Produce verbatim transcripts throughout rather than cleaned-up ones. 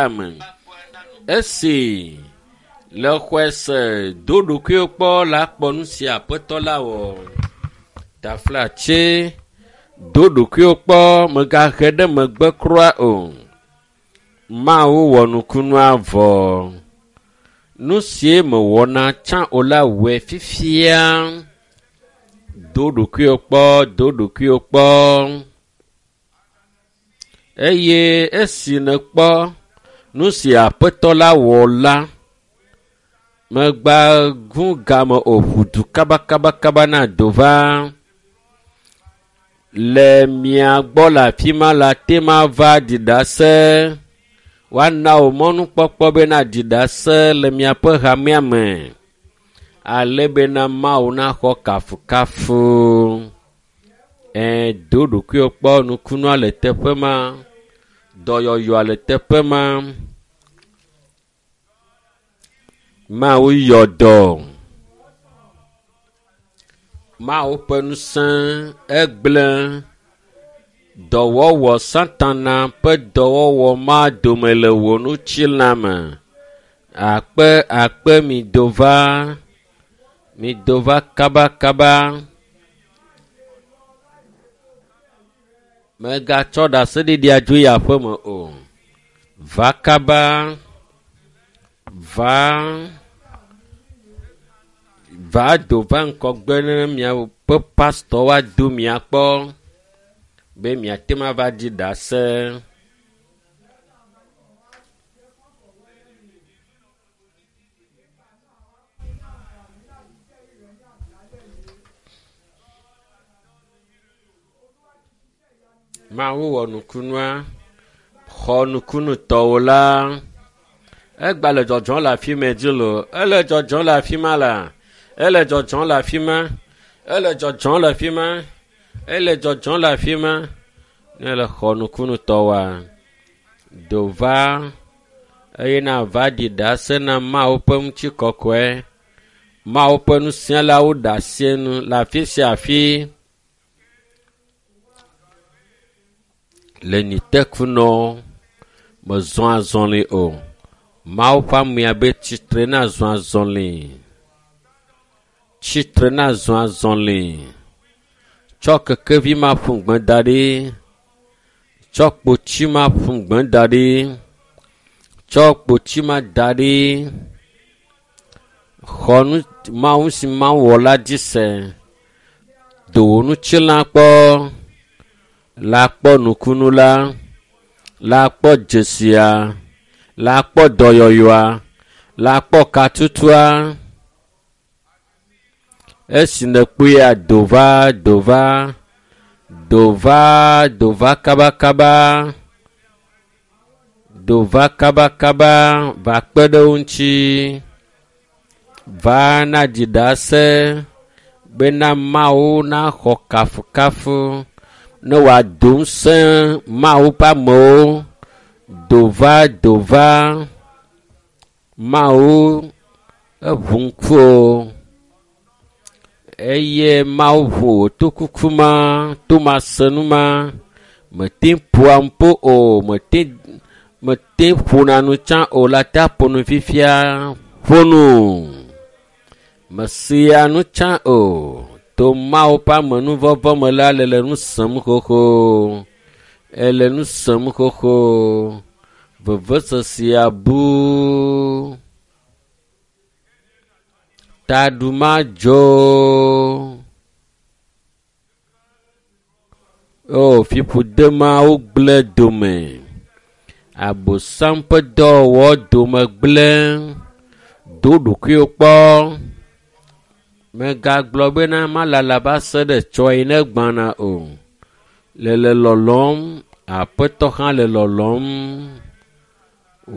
ame. Esi le xɔe se do ɖokuiwo kpɔ la kpɔ nu si aƒetɔ la wɔ. Taflatse do ɖokuiwo kpɔ mègahe ɖe megbe kura o. Mawu wɔ nukunua vɔ. Nu sie mewɔna tsã o la wɔe fifia. Do ɖokuiwo kpɔ, do ɖokuiwo kpɔ. Eye esi nèkpɔ nu si aƒetɔ la wɔ la, megba ŋu game o ʋu du kabakabakaba na do va. Le mia gbɔ le afi ma la te ma va ɖi ɖase. Woana wò mɔnukpɔkpɔ be naɖi ɖase le miaƒe hamea me ale bena Mawu naxɔ kafukafu. Ẽ do ɖokuiwò kpɔ nukunua le teƒe ma, dɔyɔyɔa le teƒe ma. Mawu yɔ dɔ. Mawu ƒe ŋusẽ egblẽ dɔwɔwɔ satana ƒe dɔwɔwɔ ma dome le wò ŋutilã me. Akpe akpe mi do va, mi do va kabakaba. Mègatsɔ ɖaseɖiɖia dzo yi aƒeme o. Va kaba, va va do va ŋgɔgbe ne miaƒe pastɔ woado mia kpɔ be miate ŋu ava ɖi ɖase. Mawu wɔ nukunua, xɔ nukunutɔwo la. Egba le dzɔdzɔm le afi me dzi loo. Ele dzɔdzɔm le afi ma la. Ele dzɔdzɔm le afi ma. Ele dzɔdzɔm le afi ma. Ele dzɔdzɔm le afi ma. Ne le xɔ nukunutɔwoa, do va eye nava ɖi ɖase na Mawu ƒe ŋutikɔkɔe. Mawu ƒe nusialawo ɖe asi nu le afi sia afi. Le nitekunɔ mezɔ azɔli o. Mawu ƒe amea be tsitre na zɔ azɔli. Tsitre na zɔ azɔli. Tsɔ kekevi ma ƒu gbe da ɖi. Tsɔ kpotsi ma ƒu gbe da ɖi. Tsɔ kpotsi ma da ɖi. Xɔ nu Mawu si Mawu wɔ la dzi se. Do wò ŋutilã kpɔ. La kpɔ nukunu la. La kpɔ dzesia. La kpɔ dɔyɔyɔa. La kpɔ katutua. Esi nèkpɔea do va, do va, do va, do va kabakaba. Do va kabakaba va kpe ɖe wo ŋuti. Va naɖi ɖase bena Mawu naxɔ kafukafu ne wòado ŋusẽ Mawu ƒe amewo. Do va, do va. Mawu eʋu ŋkuwò eye Mawu ʋu wò tokuku ma, tomasenu ma. Mete ŋu ƒoa nuƒo o, mete mete ŋu ƒona nu tsã o la te aƒo nu fifia. Ƒo nu. Mesea nu tsã o. To Mawu ƒe amenuvɔvɔ me la le le nu sem xoxo. Ele nu sem xoxo. Vevesesea bu. Taɖu madzo. O fiƒode mawo gblẽ dome. Abosam ƒe dɔwɔwɔ dome gblẽ. Do ɖokuiwò kpɔ. Mègagblɔ bena malala va se ɖe tsɔe ne gbãna o. Le le lɔlɔm, aƒetɔ hã le lɔlɔm.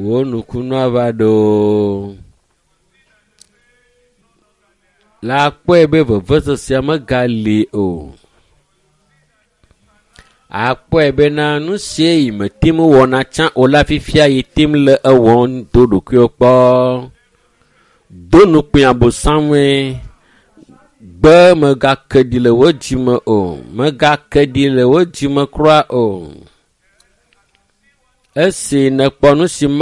Wò nukunua va ɖo. La kpɔe be vevesesea megali o. Akpɔe bena nu sie yi mete ŋu wɔna tsã o la fifia yi tem le ewɔm do ɖokuiwò kpɔ. Do nukpẽ abosamue. Gbe mègake ɖi le wò dzime o. Mègake ɖi le wò dzime kura o. Esi nèkpɔ nu si ma